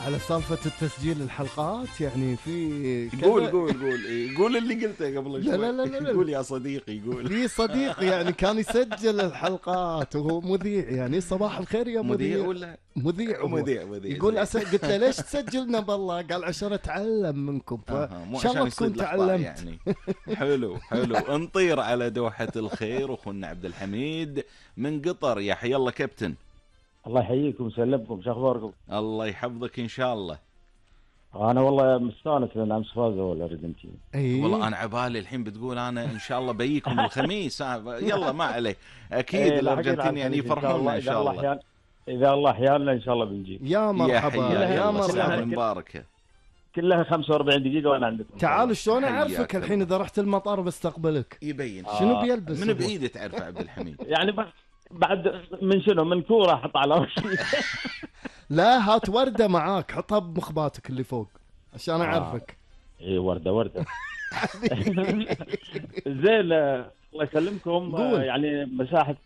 على سالفة التسجيل الحلقات يعني في قول قول اللي قلته قبل شوي. لا. قول يا صديقي قول. في صديق يعني كان يسجل الحلقات وهو مذيع، يعني صباح الخير يا مذيع. ولا مذيع يقول قلت له ليش تسجلنا بالله؟ قال عشان اتعلم منكم، مو شاء الله عشان تكون يصيد الأخطاء تعلمت يعني. حلو نطير على دوحة الخير اخونا عبد الحميد من قطر. يا حي الله كابتن. الله يحييكم ويسلمكم، شو اخباركم؟ الله يحفظك ان شاء الله. انا والله مستانس لان امس فازوا الارجنتين. والله انا عبالي الحين بتقول انا ان شاء الله بيكم الخميس. يلا ما عليه، اكيد الارجنتين يعني يفرحونا ان شاء الله. اذا الله احيانا ان شاء الله بنجيب. يا مرحبا يا مرحبا مباركه. كلها 45 دقيقه وانا عندكم. تعال شلون اعرفك الحين اذا رحت المطار بستقبلك؟ يبين شنو بيلبس؟ من بايده تعرفه عبد الحميد؟ يعني بعد من شنو؟ من كوره احط على وشي. لا هات ورده معاك حطها بمخباتك اللي فوق عشان اعرفك. اي ورده. زين الله يسلمكم. يعني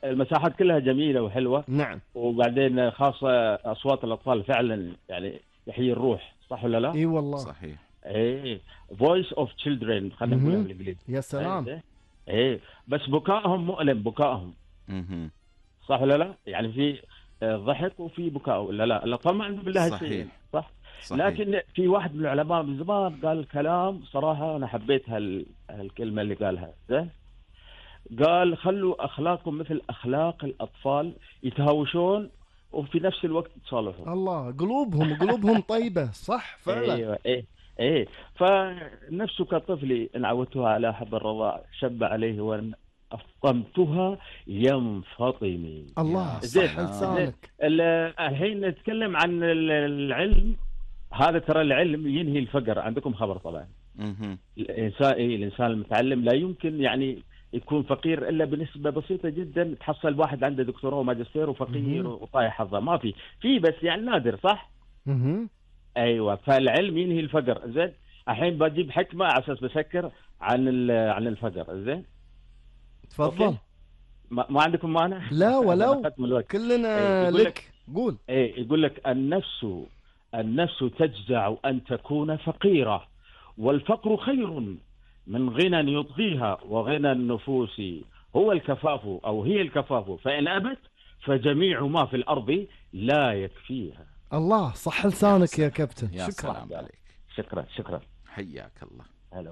المساحات كلها جميله وحلوه. نعم. وبعدين خاصه اصوات الاطفال فعلا يعني يحيي الروح، صح ولا لا؟ اي والله صحيح. ايه voice of children خلينا نقولها بالانجليزي. يا سلام. ايه بس بكائهم مؤلم، بكائهم صح ولا لا؟ يعني في ضحك وفي بكاء ولا لا؟ الاطفال ما عندهم بالله شيء، صح؟ لكن في واحد من العلماء من زمان قال كلام صراحه انا حبيت هالكلمه اللي قالها. زين قال خلوا اخلاقكم مثل اخلاق الاطفال، يتهاوشون وفي نفس الوقت يتصالحون. الله، قلوبهم طيبه، صح فعلا. ايوه ايه فنفسه كطفلي ان عودتها على حب الرضاع شب عليه وان افطمتها ينفطمي. الله صح لسانك. الحين نتكلم عن العلم. هذا ترى العلم ينهي الفقر، عندكم خبر طبعا. الانسان المتعلم لا يمكن يعني يكون فقير الا بنسبه بسيطه جدا. تحصل واحد عنده دكتوراه وماجستير وفقير وطايح حظه، ما في بس يعني نادر، صح؟ ايوه، فالعلم ينهي الفقر. زين الحين بجيب حكمه على اساس بسكر عن الفقر. زين تفضل. ما عندكم مانع؟ لا ولو كلنا لك. قول. يقول لك النفس تجزع ان تكون فقيره، والفقر خير من غنى يطغيها، وغنى النفوس هو الكفاف أو هي الكفاف، فإن أبت فجميع ما في الأرض لا يكفيها. الله صح لسانك يا كابتن. شكرا عليك. شكرا حياك الله. هلا